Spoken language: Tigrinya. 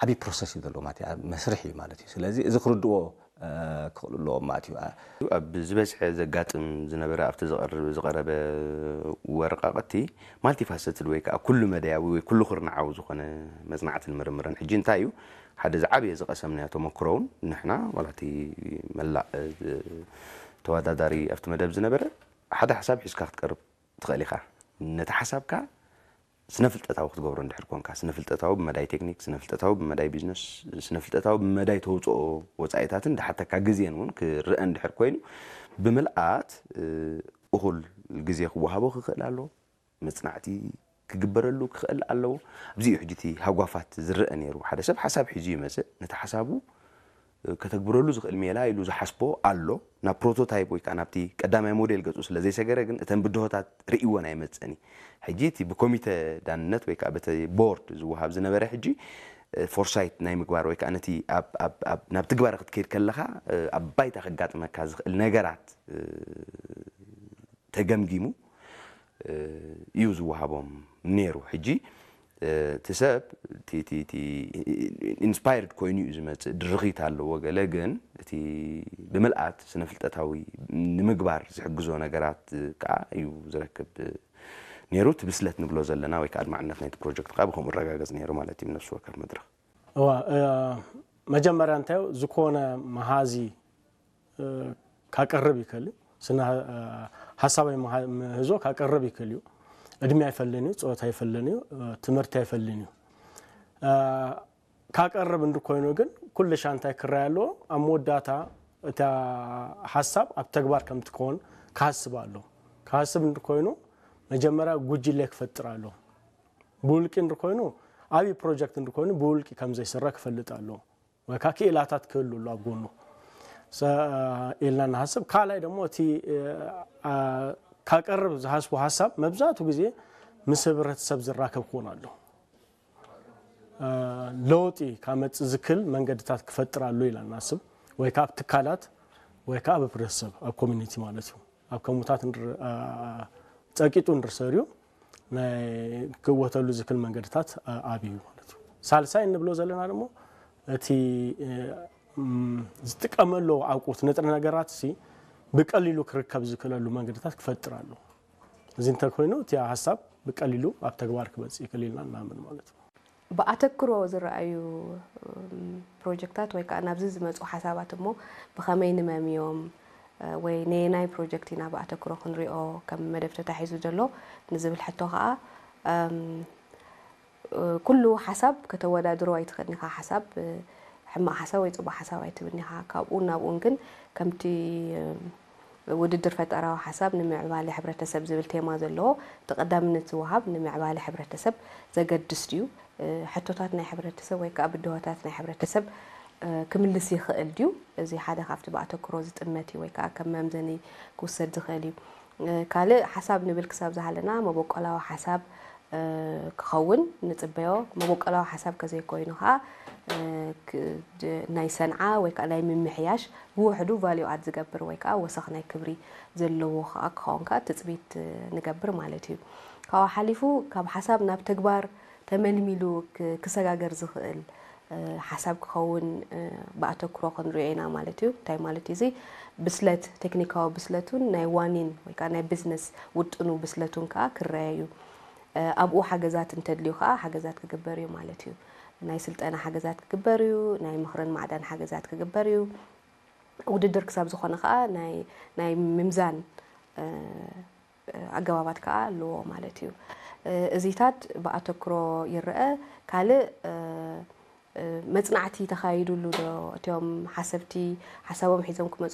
ዓብዪ ፕሮሰስ እዩ ዘለዎ ማለት እዩ፣ መስርሕ እዩ ማለት እዩ። ስለዚ እዚ ክርድዎ ክኽእሉ ኣለዎም ማለት እዩ። ኣብ ዝበዝሐ ዘጋጥም ዝነበረ ኣብቲ ዝቐረበ ወረቃቕቲ ማልቲፋሰትድ ወይ ከዓ ኩሉ መዳያዊ ወይ ኩሉ ኩርናዓዊ ዝኾነ መፅናዕትን ምርምርን ሕጂ እንታይ እዩ ሓደ ዝዓበየ ዝቐሰምናዮ ተመክሮ እውን ንሕና ዋላ እቲ መላእ ተወዳዳሪ ኣብቲ መደብ ዝነበረ ሓደ ሓሳብ ሒዝካ ክትቀርብ ትኽእል ኢኻ። ነቲ ሓሳብካ ስነ ፍልጠታዊ ክትገብሮ እንድሕር ኮንካ፣ ስነ ፍልጠታዊ ብመዳይ ቴክኒክ፣ ስነ ፍልጠታዊ ብመዳይ ቢዝነስ፣ ስነ ፍልጠታዊ ብመዳይ ተውፅኦ ወፃኢታትን ዝሓተካ ግዜን እውን ክረአ እንድሕር ኮይኑ ብምልኣት እኹል ግዜ ክወሃቦ ክኽእል ኣሎ። መፅናዕቲ ክግበረሉ ክኽእል ኣለዎ። ኣብዚ እዩ ሕጂ እቲ ሃጓፋት ዝረአ ነይሩ። ሓደ ሰብ ሓሳብ ሒዙ ይመፅእ፣ ነቲ ሓሳቡ ከተግብረሉ ዝኽእል ሜላ ኢሉ ዝሓስቦ ኣሎ። ናብ ፕሮቶታይፕ ወይ ከዓ ናብቲ ቀዳማይ ሞዴል ገፁ ስለ ዘይሰገረ ግን እተን ብድሆታት ርእይወን ኣይመፀን እዩ። ሕጂ እቲ ብኮሚተ ዳንነት ወይ ከዓ በቲ ቦርድ ዝወሃብ ዝነበረ ሕጂ ፎርሳይት ናይ ምግባር ወይ ከዓ ነቲ ናብ ትግባረ ክትከይድ ከለካ ኣብ ባይታ ከጋጥመካ ዝኽእል ነገራት ተገምጊሙ እዩ ዝወሃቦም ነይሩ። ሕጂ እቲ ሰብ ኢንስፓየርድ ኮይኑ እዩ ዝመፅእ፣ ድርኺት ኣለዎ ገለ፣ ግን እቲ ብምልኣት ስነ ፍልጠታዊ ንምግባር ዝሕግዞ ነገራት ከዓ እዩ ዝረክብ ነይሩ። እቲ ብስለት ንብሎ ዘለና ወይ ከዓ ኣድማዕነት ናይቲ ፕሮጀክት ከዓ ብከምኡ ረጋገፅ ነይሩ ማለት እዩ። ነፍሲ ወከፍ መድረኽ እዋ መጀመርያ እንታይ ዝኾነ መሃዚ ካቀርብ ይክእል እዩ። ስነ ሀሳባዊ ምህዞ ካቀርብ ይክእል እዩ። እድሜ ኣይፈልን እዩ፣ ፆታ ኣይፈልን እዩ፣ ትምህርቲ ኣይፈልን እዩ። ካቀርብ እንድኮይኑ ግን ኩሉ ሻንታይ ክረይ ኣለዎ። ኣብ መወዳእታ እታ ሓሳብ ኣብ ተግባር ከም ትከውን ክሃስብ ኣሎ። ክሃስብ እንድኮይኑ መጀመርያ ጉጅለ ክፈጥር ኣሎ። ብውልቂ እንድኮይኑ ዓብዪ ፕሮጀክት እንድኮይኑ ብውልቂ ከም ዘይስረ ክፈልጥ ኣሎ። ወይ ከዓ ክኢላታት ክህሉ ኣሎ ኣብ ጎኑ ኢልና ንሃስብ። ካልኣይ ደግሞ እቲ ካቀርብ ዝሃስቡ ሃሳብ መብዛሕቱ ግዜ ምስ ህብረተሰብ ዝራከብ ክኾን ኣሎ። ለውጢ ካመፅ ዝክል መንገድታት ክፈጥር ኣሎ ኢልና ንሃስብ። ወይ ከዓ ኣብ ትካላት ወይ ከዓ ኣብ ህብረተሰብ ኣብ ኮሚኒቲ ማለት እዩ። ኣብ ከምኡታት ጸቂጡ እንድርሰር እዩ ናይ ክወተሉ ዝክል መንገድታት ኣብዩ ማለት እዩ። ሳልሳይ እንብሎ ዘለና ደግሞ እቲ ዝጥቀመሉ ኣቁት ንጥረ ነገራት ሲ ብቀሊሉ ክርከብ ዝክለሉ መንገድታት ክፈጥር ኣሎ። እዚ እንተኮይኑ እቲ ሓሳብ ብቀሊሉ ኣብ ተግባር ክመጽእ ይክእል ኢልና እናምን ማለት እዩ። ብኣተክሮ ዝረኣዩ ፕሮጀክታት ወይ ከዓ ናብዚ ዝመፁ ሓሳባት እሞ ብኸመይ ንመምዮም ወይ ነየናይ ፕሮጀክት ኢና ብኣተክሮ ክንሪኦ ከም መደብ ተታሒዙ ዘሎ ንዝብል ሕቶ ከዓ ኩሉ ሓሳብ ከተወዳድሮ ኣይትኽእልን ኢኻ። ሓሳብ ሕማቕ ሓሳብ ወይ ፅቡቕ ሓሳብ ኣይትብልን ኢኻ። ካብኡን ናብኡን ግን ከምቲ ውድድር ፈጠራዊ ሓሳብ ንምዕባለ ሕብረተሰብ ዝብል ቴማ ዘለዎ እቲ ቀዳምነት ዝወሃብ ንምዕባለ ሕብረተሰብ ዘገድስ ድዩ? ሕቶታት ናይ ሕብረተሰብ ወይ ከዓ ብድሆታት ናይ ሕብረተሰብ ክምልስ ይኽእል ድዩ? እዚ ሓደ ካብቲ ብኣተክሮ ዝጥመት እዩ ወይ ከዓ ከም መምዘኒ ክውሰድ ዝኽእል እዩ። ካልእ ሓሳብ ንብል ክሳብ ዝሃለና መበቆላዊ ሓሳብ ክኸውን ንፅበዮ። መበቆላዊ ሓሳብ ከዘይኮይኑ ከዓ ናይ ሰንዓ ወይ ከዓ ናይ ምምሕያሽ ብውሕዱ ቫሊዩ ኣድ ዝገብር ወይ ከዓ ወሰኽ ናይ ክብሪ ዘለዎ ከዓ ክኸውን ከዓ ትፅቢት ንገብር ማለት እዩ። ካብኡ ሓሊፉ ካብ ሓሳብ ናብ ተግባር ተመልሚሉ ክሰጋገር ዝኽእል ሓሳብ ክኸውን ብኣተክሮ ክንሪኦ ኢና ማለት እዩ። እንታይ ማለት እዩ እዚ? ብስለት፣ ቴክኒካዊ ብስለቱን ናይ ዋኒን ወይ ከዓ ናይ ቢዝነስ ውጥኑ ብስለቱን ከዓ ክረአ እዩ። ኣብኡ ሓገዛት እንተድልዩ ከዓ ሓገዛት ክግበር እዩ ማለት እዩ። ናይ ስልጠና ሓገዛት ክግበር እዩ፣ ናይ ምኽርን ማዕዳን ሓገዛት ክግበር እዩ። ውድድር ክሳብ ዝኾነ ከዓ ናይ ምምዛን ኣገባባት ከዓ ኣለዎ ማለት እዩ። እዚታት ብኣተክሮ ይረአ። ካልእ መፅናዕቲ ተኻይዱሉ ዶ? እቲኦም ሓሰብቲ ሓሳቦም ሒዞም ክመፁ